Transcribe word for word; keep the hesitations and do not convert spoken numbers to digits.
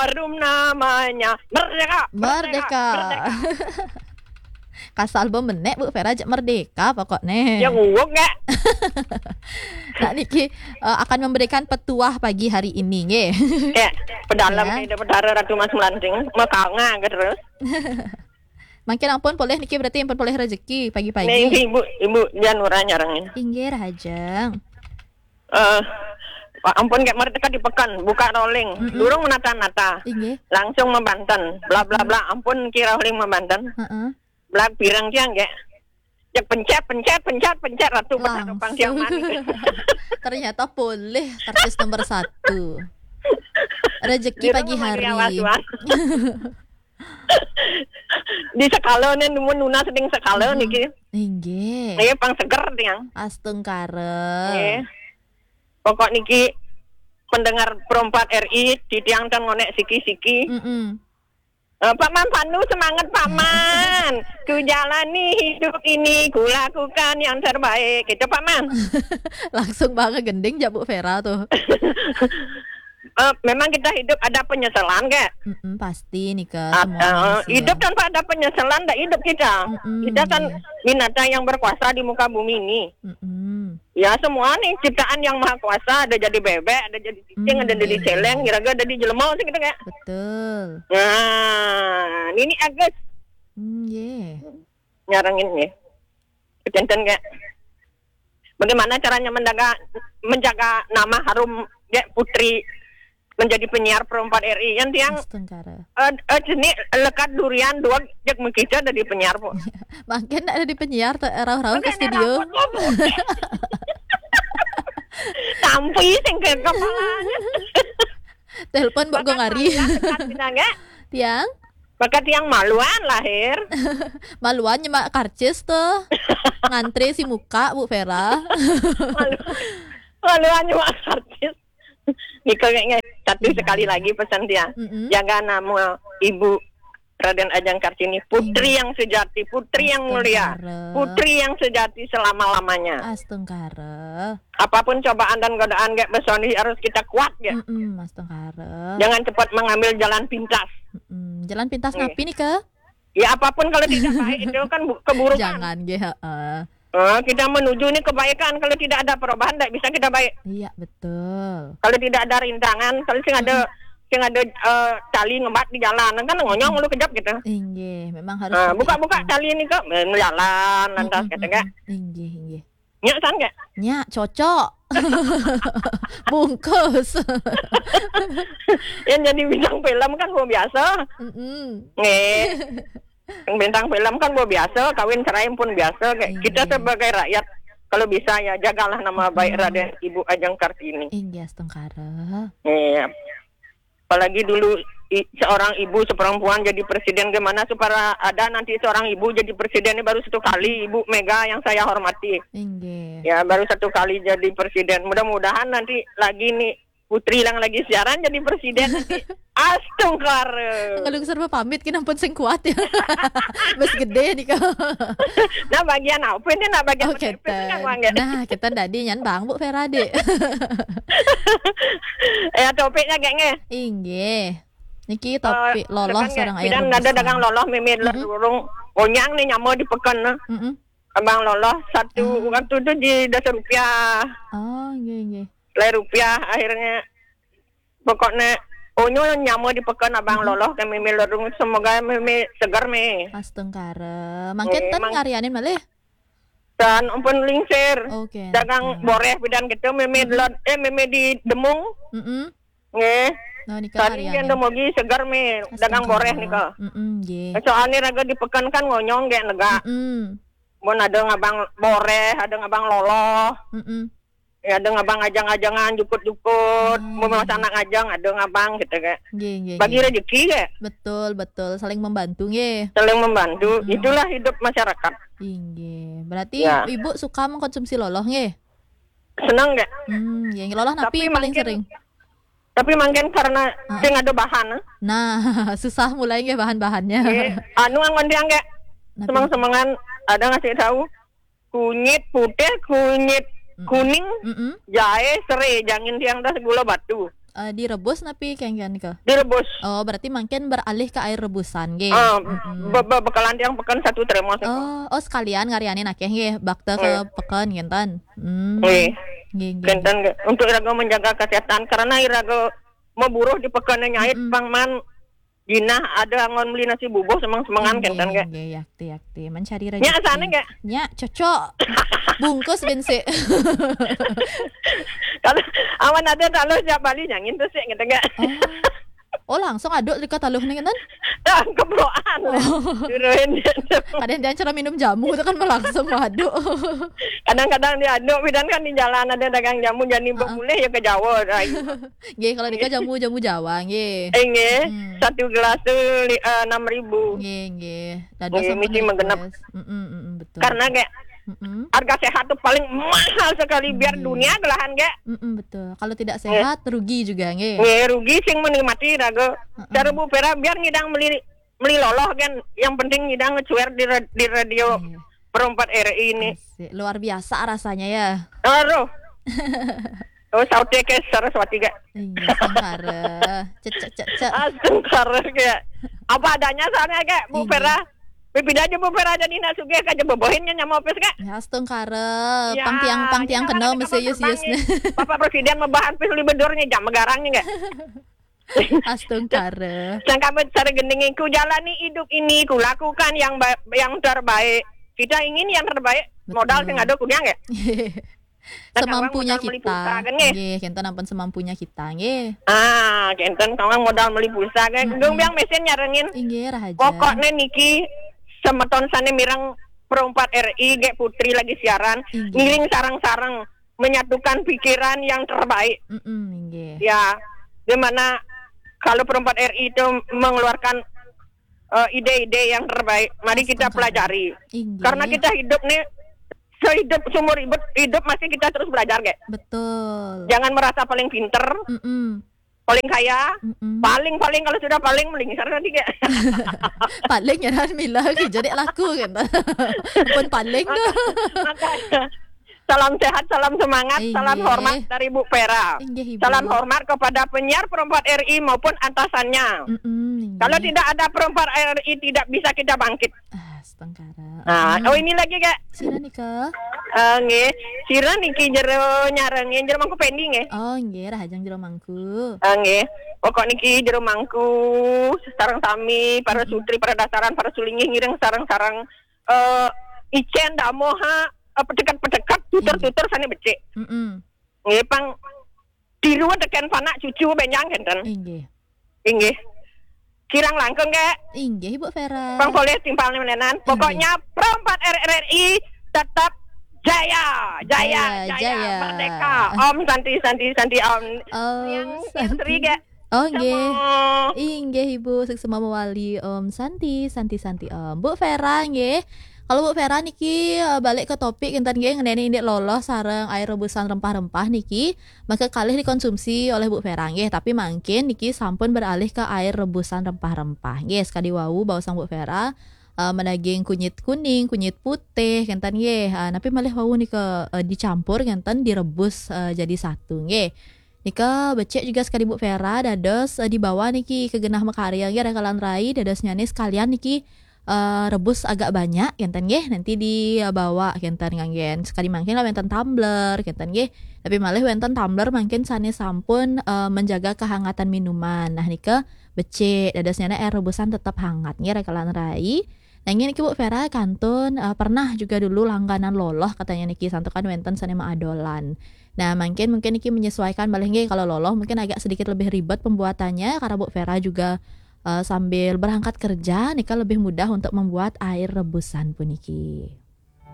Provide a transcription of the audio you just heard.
Harum namanya. Merdeka. Merdeka. Merdeka. Kasal bemenek, Bu Vera, jek merdeka pokoknya. Ya, nguguk, nggak? Nah, niki, eh, akan memberikan petuah pagi hari ini, nggih. Ya, pedalam. Ya. Kita petara Ratu Mas Melanting, makanga terus. Mangkin ampun polih niki, berarti ampun polih rezeki pagi-pagi. Nih, Ibu, Ibu Janura nyarengin. Inggih, Rahajeng. Eh, Pak, ampun, kayak merdeka di pekan, buka rolling, mm-mm, durung menata-nata. Inggih. Langsung membanten, bla, bla, bla, ampun, kira rolling membanten. Heeh. Bla, pirang tiang, nggih. Cek pencet, pencet, pencet, pencet, Ratu, pencet, langsung. Pang tiang mani. Ternyata polih karcis nomor satu. Rezeki pagi hari. Di sekala nih, nemu nunas ning sekala, mm-mm, niki. Inggih. Nggih, pang seger tiang. Astungkara. Nggih. Pokok niki pendengar Pro empat R I, titiang tan ngonek siki-siki. Mm-mm. Eh, Pak Man Pandu, semangat, Pak Man. Ku jalani hidup ini, ku lakukan yang terbaik. Gitu, Pak Man. Langsung banget gending, jak Bu Vera tuh. Eh, memang kita hidup ada penyesalan, Kak? Mm-mm, pasti nih, Kak. Ah, semuanya eh, manusia. Hidup tanpa ada penyesalan, ndak hidup kita. Mm-mm, kita kan, iya, binatang yang berkuasa di muka bumi ini. Mm-mm. Ya, semua nih ciptaan yang maha kuasa, ada jadi bebek, ada jadi cicing, hmm, ada jadi, iya, celeng, kira-kira ada di jelema sih gitu, Kak. Betul. Nah, ini Agus. Hmm, iya. Nyarengin nih. Kecenten, Kak. Bagaimana caranya menjaga, menjaga nama harum, ya, Putri menjadi penyiar Pro empat R I? Yang tiang, astungkara, eh, eh, jenis lekat durian dua, jek mengkica dari penyiar, Bu. Makin ada di penyiar, te-, rauh-rauh ke studio. Tampi sing ke kepala. Telepon, Bu, Gong Ari. Tiang? Maka tiang maluan lahir. Maluan nyemak karcis tuh. Ngantri si muka, Bu Vera. Malu-, maluan nyemak karcis. Nika kayaknya satu, iya, sekali lagi pesan dia. Mm-mm. Jaga nama Ibu Raden Ajeng Kartini, putri, iya, yang sejati, putri yang mulia, astungkara, putri yang sejati selama-lamanya. Astungkara. Apapun cobaan dan godaan, kayak besoni harus kita kuat, ya. Mm-mm, astungkara. Jangan cepat mengambil jalan pintas. Mm-mm. Jalan pintas, iya, napi nih, ke? Ya, apapun kalau tidak baik itu kan bu-, keburukan. Jangan, nggih, heeh. Eh, kita menuju ini kebaikan. Kalau tidak ada perubahan, tidak bisa kita baik. Iya, betul. Kalau tidak ada rintangan, kalau sing ada, mm-mm, sing ada, eh, tali ngebat di jalan, kan ngonyong lu kejap gitu. Inggih, memang harus, eh, seperti buka-buka itu. Tali ini kok, eh, jalan lantas, mm-mm, gitu, mm-mm, kan? Inggih, inggih. Nyak, san, nggak? Nyak, cocok. Bungkus. Yang jadi bintang film kan gua biasa. Mm-mm. Nggih. Yang bintang film kan gua biasa, kawin cerai pun biasa. Kayak, iya, kita sebagai rakyat, kalau bisa ya jagalah nama baik, mm-mm, Raden Ibu Ajeng Kartini. Inggih, astungkara. Iya. Apalagi dulu i-, seorang ibu seperempuan jadi presiden, gimana supaya ada nanti seorang ibu jadi presiden ini baru satu kali, Ibu Mega yang saya hormati. Inggih. Ya, baru satu kali jadi presiden. Mudah-mudahan nanti lagi nih Putri yang lagi siaran jadi presiden nanti. Astungkara. Kalau serba pamit, kena pun sing kuat ya. Bes gede nih kau. Nah, bagian apa ini? Nah, bagian, oh, kita. Nah, kita tadi nyan Bang Bu Feradi. Ya, topiknya kayaknya. Inggih. Niki, eh, topik lolos sekarang, seorang air bidan rebus ada dagang lah. Loloh, mimit, mm-hmm, lurung. Onyang nih nyama di pekan, nah. Mm-mm. Abang loloh satu, ah, waktu itu di dasar rupiah. Oh, iya, iya. Lai rupiah akhirnya. Pokoknya, onyo nyama di pekan abang, mm-hmm, loloh ke mimit lurung. Semoga mimit segar, mi. Astungkara. Mangkin, eh, ten mang- ngarianin malih. Dan ampun lingsir. Oke. Dagang, oke, boreh bidan gitu, mimit, mm-mm, lot, eh, mimit di Demung. Mm-mm. Nggih. Nah, nika. Tadi harian yang demogi segar, mi, dagang boreh nika. Mm-mm, nggih. Soalnya raga di pekan kan ngonyong, nggih, nega. Mm-mm. Mun ada ngabang boreh, ada ngabang loloh. Mm-mm. Ya, ada ngabang ajang-ajangan, jukut-jukut. Hmm. Mun masa anak ngajang, ada ngabang gitu, kayak. Nggih, nggih, bagi, nggih, rezeki, kayak. Betul, betul. Saling membantu, nggih. Saling membantu. Mm-mm. Itulah hidup masyarakat. Inggih. Berarti, ya, Ibu suka mengkonsumsi loloh, nggih? Seneng, nggih. Hmm, nggih. Loloh napi paling sering? Tapi mangkin karena, ah, sing ada bahan, eh. Nah, susah mulai nggih bahan-bahannya. Nggih, anu, anggon tiang, nggih. Napi? Semeng-semengan ada ngasih tahu kunyit putih, kunyit, mm-mm, kuning, mm-mm, jahe, serai, jangin tiang dah gula batu. Eh, direbus napi kengken ke? Direbus. Oh, berarti mangkin beralih ke air rebusan nggih. Ah, Mm-mm. be- be- bekelan tiang peken satu termos. Oh, oh sekalian ngarianin akeh nggih, bakta ke Nggih. peken kenten. Hmm. Nggih. Nggih, nggih. Kenten nggih. Untuk iraga menjaga kesehatan karena iraga maburuh di peken nyait Mm-mm. pang man jinah ada angon beli nasi bubuh semang-semangan Nggih, kenten nggih. Nggih, yakti, yakti. Mencari Nya rezeki. Sana nggih. Nya, cocok. Bungkus bin sik. Kalau awan ada taluh siap bali nyangin tu sik kenten nggih. Oh. Oh, langsung aduk dekat taluh ni kenten? Dah kebroan. Turun. Kadang dia cara minum jamu tu kan langsung aduk. Kadang-kadang dia aduk bidan kan di jalan ada dagang jamu jadi Ah, ah. Boleh ya ke Jawa dah. Nggih, kalau dekat jamu-jamu Jawa nggih. Inggih, Hmm. Satu gelas tu li- eh, enam ribu. Nggih, nggih. Dados Nggih, sampun mesti menggenep. Request. Mm-mm, mm-mm, betul. Karena kayak Mm-mm. Harga sehat tu paling mahal sekali biar Nggih. Dunia gelahan kayak. Mm-mm, betul. Kalau tidak Nggih. Sehat rugi juga nggih. Nggih, rugi sing menikmati raga. Mm-mm. Cara Bu Vera biar ngidang meli meli loloh kan. Yang penting ngidang ngecuer di ra- di radio Nggih. Perempat R I ini. Asik. Luar biasa rasanya ya. Aduh. Oh, saute ke Saraswati kayak. Iya, astungkara. Cek, cek, cek, cek. Astungkara kayak. Apa adanya soalnya kayak Bu Iya. Vera. Bibida aja Bu Vera jadi nak sugih kayak bobohin nyamopis kayak. Ya, astungkara. Ya, Pang tiang, pang tiang ya, kena ada mesti kapal yus-yus terbang nih. Bapak Presiden membahas pis libedurnya jam megarangnya kayak. Astungkara. Sangka cara gending ku jalani hidup ini, ku lakukan yang ba- yang terbaik. Kita ingin yang terbaik. Betul. Modal sing ada kunyang ya. Kan Semampunya orang modal meli kita. Pulsa, kan, nggih? Nggih, kenten ampun semampunya kita nggih. Ah, kenten kawang modal meli pulsa kan. Mm-mm. Gung biang mesin nyarengin. Inggih, rahaja. Pokoknya niki semeton sane mireng Pro empat R I G Putri lagi siaran. Inggih. Ngiring sarang-sarang menyatukan pikiran yang terbaik. Mm-mm, inggih. Ya, dimana kalau Pro empat R I itu mengeluarkan eh, ide-ide yang terbaik, mari kita Astungkara. Pelajari. Inggih. Karena kita hidup nih sehidup seumur hidup hidup masih kita terus belajar kayak. Betul. Jangan merasa paling pinter, Mm-mm. Paling kaya, Mm-mm. Paling-paling kalau sudah paling melingsar nanti kayak. Paling ya kan mila ki jadi laku kan. Pun paling tu. Makanya, salam sehat, salam semangat, Inggih. Salam hormat dari Bu Vera. Inggih, Ibu. Salam hormat kepada penyiar Pro empat R I maupun atasannya. Mm-mm, inggih. Kalau tidak ada Pro empat R I, tidak bisa kita bangkit. Ah, astungkara. Nah, Mm. Oh, ini lagi, Kak. Sira nika. Ah, nggih. Sira niki jero nyarengin jero mangku pending nggih. Oh, nggih, rahajeng jero mangku. Ah, nggih. Pokok niki jero mangku sareng sami para Mm-mm. sutri, para dasaran, para sulinggih ngiring sareng-sareng eh icen damoha eh, pedekat-pedekat tutur-tutur sane becik. Mm-mm. Nggih pang tiru teken panak cucu benjang kenten. Inggih. Inggih. Kirang langkung, Kak. Inggih, Ibu Vera. Pang boleh timpal menenan. Pokoknya Pro empat R R I tetap jaya, jaya, Jaya, jaya, jaya. Merdeka. Om Santi, Santi, Santi, Om. Om Yang Santi. Sri, Kak. Oh, nggih. Sama. Inggih, Ibu, suksma mawali. Om Santi, Santi, Santi, Om. Bu Vera, nggih. Kalau Bu Vera niki eh, balik ke topik kenten nggih ngeneni indik loloh sareng air rebusan rempah-rempah niki, maka kalih dikonsumsi oleh Bu Vera nggih, tapi mangkin niki sampun beralih ke air rebusan rempah-rempah. Nggih, sekadi wau baosang Bu Vera eh, menaging kunyit kuning, kunyit putih kenten nggih. Ah, napi malih wau nika eh, dicampur kenten direbus eh, jadi satu nggih. Nika becik juga sekadi Bu Vera dados eh, dibawa niki ke genah makarya nggih rakalan rai dados nyane sekalian niki eh, rebus agak banyak kenten nggih nanti dibawa kenten nganggen sekadi mangkin lah wenten tumbler kenten nggih tapi malih wenten tumbler mangkin sane sampun eh, menjaga kehangatan minuman nah nika becik dados nyane air rebusan tetap hangat nggih rakalan rai. Nanging niki Bu Vera kantun eh, pernah juga dulu langganan loloh katanya niki santukan wenten sane maadolan. Nah, mungkin mungkin niki menyesuaikan malih nggih kalau loloh mungkin agak sedikit lebih ribet pembuatannya karena Bu Vera juga eh, sambil berangkat kerja nika lebih mudah untuk membuat air rebusan puniki.